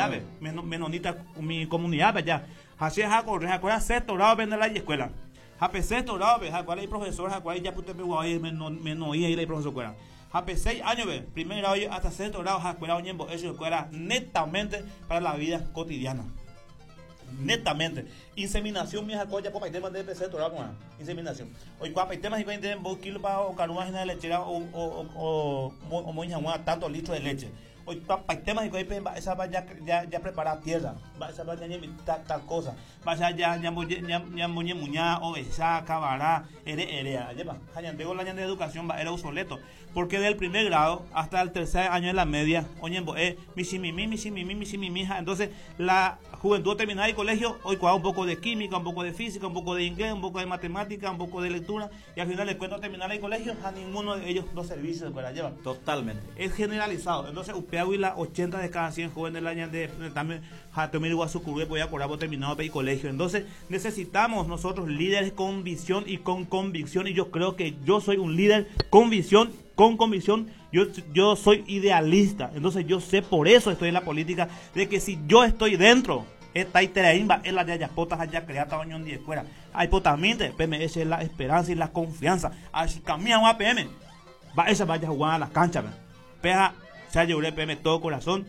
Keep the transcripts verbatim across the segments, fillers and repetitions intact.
comunidad, menonita mi comunidad ya. Así es, corre, acuerda sexto grado vende la escuela. Jape sexto grado, ve, jacuara y profesor, jacuara ya pute pe menos menos y ahí profesor cuera. Jape seis años, ve, primer grado hasta sexto grado, jacuara oñembo, eso escuela netamente para la vida cotidiana. Netamente. Inseminación, mi jacoya, popa y tema de sexto grado, inseminación. Hoy cuapa y temas y veinte kilos para o carúa de lechera o o o o o tantos litros de leche. Hoy pa temas y esa va ya ya ya preparar tierra, va esa va ya tal, tal cosa, va ya ya ya ya muñe muña obesa cabará ere ere lleva hañandego la de educación va era obsoleto, porque del primer grado hasta el tercer año de la media oñembo eh mishimimi mishimimi mishimimi, entonces la juventud terminada el colegio hoy cuadra un poco de química, un poco de física, un poco de inglés, un poco de matemática, un poco de lectura, y al final les cuento terminar el colegio a ninguno de ellos dos servicios para llevar. Totalmente. Es generalizado. Entonces usted la ochenta de cada cien jóvenes del año de también voy a por terminado el colegio. Entonces necesitamos nosotros líderes con visión y con convicción, y yo creo que yo soy un líder con visión, con convicción. Yo, yo soy idealista, entonces yo sé, por eso estoy en la política, de que si yo estoy dentro, esta iteraimba es la de ayapotas allá creata oñón de escuela. Hay potamente, P M S es la esperanza y la confianza. Así camina un A P M. Va esa vaya a jugar a las canchas. Peja se llevó P M todo corazón.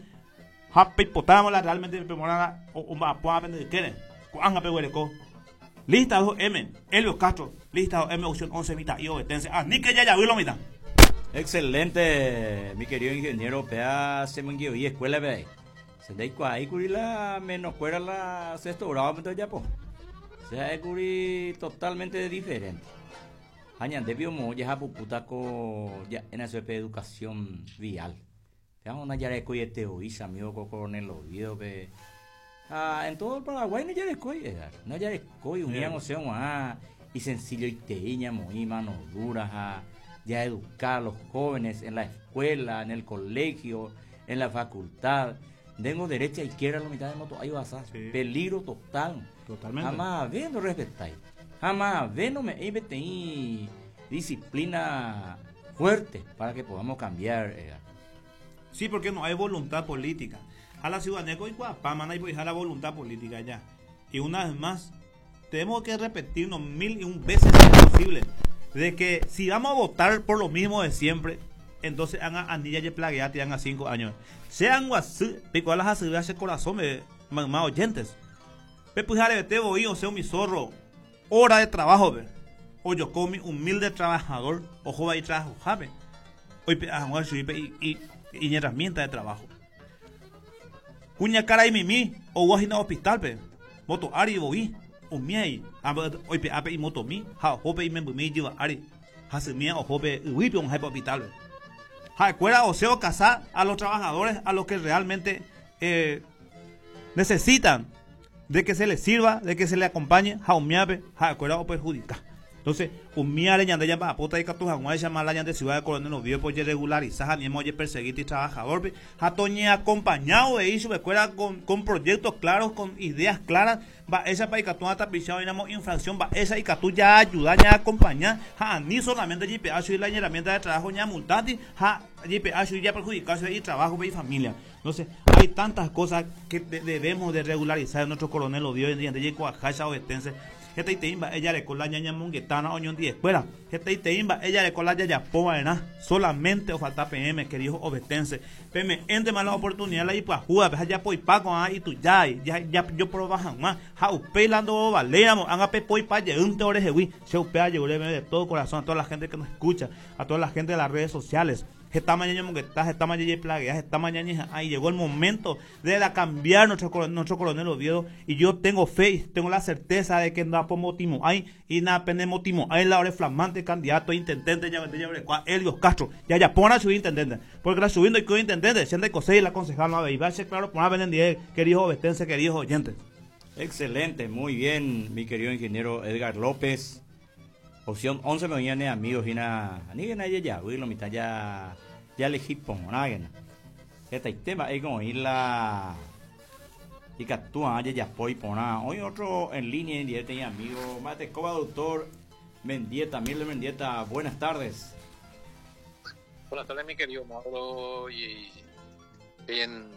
Happy potámola realmente morana o o va a aprender quieren. Cuanga pe huereco. Lista dos M, Elio Castro, lista dos M opción once mitad y obetense. Ah, ni que ya ya vi lo mitad. Excelente, mi querido ingeniero, pea se me y escuela ve. Se de ahí curi la menos fuera la sexto grado entonces ya po. Se da curi totalmente diferente. Añade biomo ya puputa ko ya en esa educación vial. Ya una yareco y este oísa amigo con coronel Oviedo pe. Ah, en todo el Paraguay no yareco y no yareco y unían o sea ah y sencillo y teña muy mano dura ah, ya educar a los jóvenes en la escuela, en el colegio, en la facultad. Tengo derecha, izquierda, la mitad de moto, ahí vas a sí. Peligro total. Totalmente. Jamás ve no respetáis. Jamás ve no me y disciplina fuerte para que podamos cambiar. Eh. Sí, porque no hay voluntad política. A la ciudadanía con Iguapama no hay la voluntad política ya. Y una vez más, tenemos que repetirnos mil y un veces si es posible, de que si vamos a votar por lo mismo de siempre, entonces hagan anilla y plagueate hagan cinco años. Sean guasú, pico a las hace corazón, me, más oyentes. Pe pues te voy, o sea, mi zorro, hora de trabajo, ve. O yo como humilde trabajador, ojo va y trabajo, jabe. Hoy pe ah, y, y, y herramienta de trabajo. Cuña cara y mimi, o guajina hospital, pe. Moto ari voy, o miai, hoy pe ape y moto mi, ja jope y membu mi lleva ari. Hace mía o jope y wipe un hospital. Ja, o sea, casar a los trabajadores, a los que realmente eh, necesitan de que se les sirva, de que se les acompañe, ja umiape, ja o perjudica. Entonces, umiare ñande ya pa pota y catuja, llama la ñande ciudad de Coronel Oviedo, pues regularizar, ni hemos perseguir y trabajador, pe, ja toñe acompañado de eso, escuela con, con proyectos claros, con ideas claras, va esa pa y catuja tapichado, dinamo infracción, va esa y catu ya ayuda, ya acompañar, ja ni solamente G P H y la herramienta de trabajo ya multati, ja G P H y ya perjudicarse y trabajo y familia. Entonces, hay tantas cosas que de, debemos de regularizar en nuestro Coronel Oviedo, en de Coajacha obetense. Esta iteimba, ella le cola ñaña monguetana oñón di escuela. Esta iteimba, ella le cola ñaña poba, ¿verdad? Solamente o falta P M, queridos obetense. P M, entre más la oportunidad la hipa juga, pues ya poi paco, ah, y tú ya, ya, ya, yo probajan más. Ja, upelando valeamos, haga pe poi pa ye un te oreje wi. Se upea ye de todo corazón a toda la gente que nos escucha, a toda la gente de las redes sociales. Esta mañana monguetá, esta mañana plaguea, esta mañana, ahí llegó el momento de la cambiar nuestro coronel, nuestro coronel Oviedo, y yo tengo fe y tengo la certeza de que no pomotimo hay y nada penemotimo hay la hora flamante candidato intendente ya ya ya Elio Castro ya ya pon a subir intendente, porque la subiendo y que intendente siendo de y la concejal no va a ser claro pon a vender, queridos obetenses, queridos oyentes. Excelente, muy bien, mi querido ingeniero Edgar López. Opción once me viene amigos y na ni na ya ya lo mitad ya ya elegí pongan. Este tema es como ir la y catúa ya ya poi pona. Hoy otro en línea en directo mi amigo Mate Coba, doctor Mendieta, Miller Mendieta, buenas tardes. Buenas tardes, mi querido Mauro, y bien